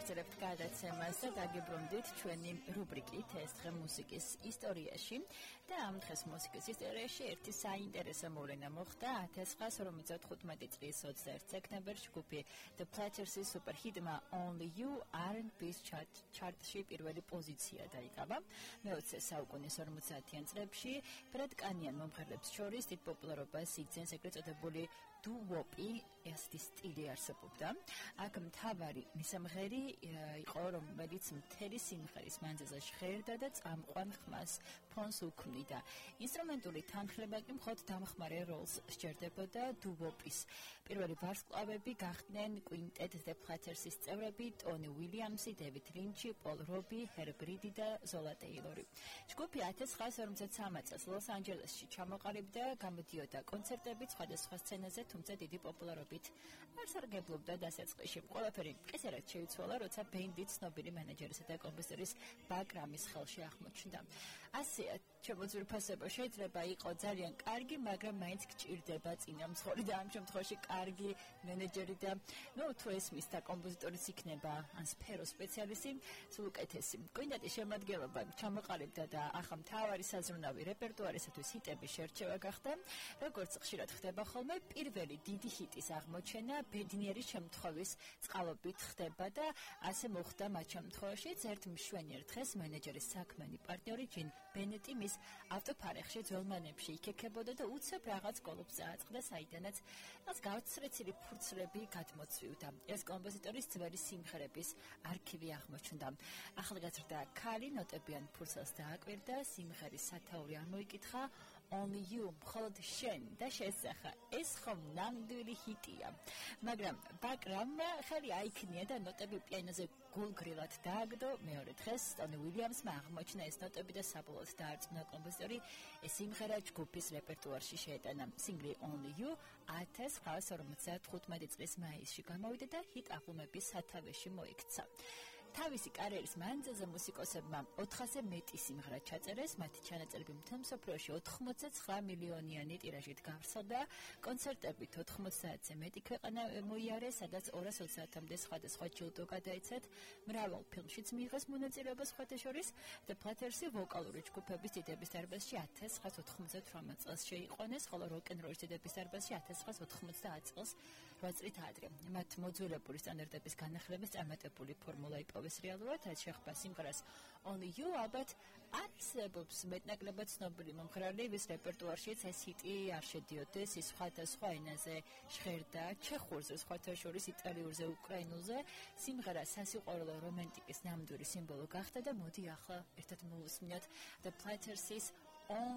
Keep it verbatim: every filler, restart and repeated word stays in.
მოგესწრებთ გადაცემას და დაგიბრუნდით ჩვენი რუბრიკით ეს დღე მუსიკის ისტორიაში და ამ დღეს მუსიკის ისტორიაში ერთი საინტერესო მოვლენა მოხდა ათას ცხრაასი ორმოცდათხუთმეტი წლის ოცდაერთი სექტემბერში ჯგუფი The Platters-ის სუპერჰიტმა Only You არ ენდ B's ჩარტში პირველი პოზიცია დაიკავა. მეოცე საუკუნის ორმოცდაათიან წლებში ბრიტანიან მომღერლებს შორის დიდ პოპულარობას იგრძენს ეგრეთ წოდებული დუვოპი ესეთი სტილი არსებობდა. აქ მთავარი მისამღერი იყო, რომელიც მთელი სიმღერის მანძილზე ჟღერდა და წამყვან ხმას ფონს უქმნიდა. ინსტრუმენტული თანხლება კი მხოლოდ დამხმარე როლს სჭერდებოდა დუვოპის. პირველი ვარსკვლავები გახდნენ კვინტეტ The Platters-ის წევრები ტონი უილიამსი, დევიდ ლინჩი, პოლ რობი, ჰერბ რიდი და ზოლა ტეილორი. ჯგუფი ათას ცხრაასი ორმოცდათვრამეტ წელს ლოს-ანჯელესში ჩამოყალიბდა, გამოდიოდა კონცერტებით სხვადასხვა სცენაზე, თუმცა დიდი პოპულარობით არ სარგებლობდა დასაწყისში. ყველაფერი ისერად შეიცვალა, როცა ბენდი ცნობილი მენეჯერისა და კომპოზიტორის ბაკ რამის ხელში აღმოჩნდა. ასე შემოძვირფასება შეიძლება იყო ძალიან კარგი, მაგრამ მაინც გჭირდება წინამძღოლი და ამ შემთხვევაში კარგი მენეჯერი და ნუ თუ ესმის და კომპოზიტორიც იქნება ან სფერო სპეციალისტი, სულ უკეთესი. კვინტეტის შემადგენლობა ჩამოყალიბდა და ახლა მთავარი საზრუნავი რეპერტუარისათვის ჰიტების შერჩევა გახდა. როგორც ხშირად ხდება ხოლმე, პირველი დიდი ჰიტის აღმოჩენა ბედნიერი შემთხვევის წყალობით ხდება და ასე მოხდა მათ შემთხვევაშიც ერთ მშვენიერ დღეს მენეჯერის საქმიანი პარტნიორი ჯინ ბენეტი მის ავტოფარეხში ძველმანებში იქექებოდა და უცებ რაღაც კოლოფს წააწყდა, საიდანაც მას გავრცელებული ფურცლები გადმოცვივდა. ეს კომპოზიტორის ძველი სიმღერების არქივი აღმოჩნდა. ახალგაზრდა ქალი ნოტებიან ფურცელს დააკვირდა, სიმღერის სათაური ამოიკითხა Only You, მხოლოდ შენ და შესახა. ეს ხომ ნამდვილი ჰიტია. მაგრამ ბაკრამმა ხელი აიქნია და ნოტები პიანოზე გულგრილად დააგდო. მეორე დღეს ტონი უილიამსმა აღმოჩნდა ეს ნოტები და საბოლოოდ დაარწმუნა კომპოზიტორი ეს სიმღერა ჯგუფის რეპერტუარში შეეტანა. სინგლი Only You ათას ცხრაასი ორმოცდათხუთმეტი წლის მაისში გამოვიდა და ჰიტ ალბომების სათავეში მოიქცა. თავისი კარიერის მანძილზე მუსიკოსებმა ოთხასზე მეტი სიმღერა ჩაწერეს, მათი ჩანაწერები მთელ მსოფლიოში ოთხმოცდაცხრა მილიონიანი ტირაჟით გავრცელდა, კონცერტებით ოთხმოცდაათზე მეტი ქვეყანა მოიარეს, სადაც ორას ოცდაათამდე სხვადასხვა ჯილდო გადაიცეთ, მრავალ ფილმშიც მიიღეს მონაწილეობა სხვათა შორის. The Platters-ი ვოკალური ჯგუფების დიდების დარბაზში ათას ცხრაასი ოთხმოცდათვრამეტ წელს შეიყვანეს, ხოლო როკ-ენ-როლის დიდების დარბაზში ათას ცხრაასი ოთხმოცდაათი წელს რვა წლით ადრე. მათ მოძველებული სტანდარტების განახლების წარმატებული ფორმულა იპოვეს რეალურად, რაც შეხვდა სიმღერას Only You ალბათ არცებობს მეტნაკლებად ცნობილი მომღერალი, ვის რეპერტუარშიც ეს ჰიტი არ შედიოდეს, ის სხვადასხვა ენაზე ჟღერდა, ჩეხურზე, სხვათა შორის იტალიურზე, უკრაინულზე. სიმღერა სასიყვარულო რომანტიკის ნამდვილი სიმბოლო გახდა და მოდი ახლა ერთად მოვუსმინოთ The Platters-ის